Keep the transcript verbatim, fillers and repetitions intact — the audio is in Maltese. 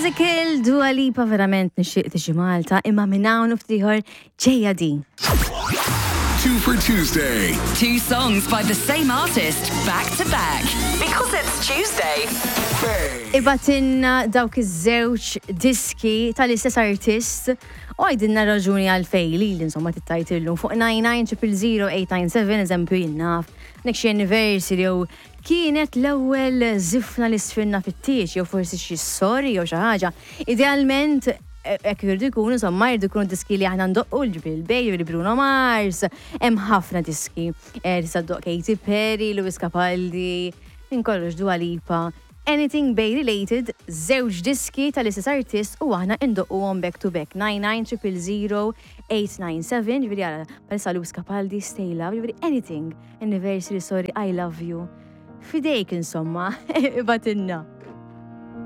Physical, Dua Lipa, verament nixtieq tiġi Malta, imma minn hawn u ftit ieħor ġejja din. Two for Tuesday. Two songs by the same artist back to back. Because it's Tuesday. Ibgħatilna dawk iż-żewġ diski tal-istess artist u għidilna raġuni għalfejn li insomma tittajtillu fuq nine nine zero zero eight nine seven, eżempju, jien naf, nek xi anniversary jew kienet l-ewwel żifna li sfinna fit-tieġ jew forsi xi sorry jew xi ħaġa. Idealment hekk jridu jkunu, insomma, jridu jkunu diski li aħna ndoqqu, l-ġbil Bay, li Bruno Mars, hemm ħafna diski. Eh, Tista' ddoqq Katy Perry, Lewis Capaldi, minn kollox, Dua Lipa. Anything Bay related, żewġ diski tal-istess artist u aħna indoqquhom back to back. nine nine zero zero zero eight nine seven, ġifieri għara, palissa Lewis Capaldi, Stay Love, ġifieri anything, anniversary, sorry, I love you. Fidejk insomma, ibgħatilna.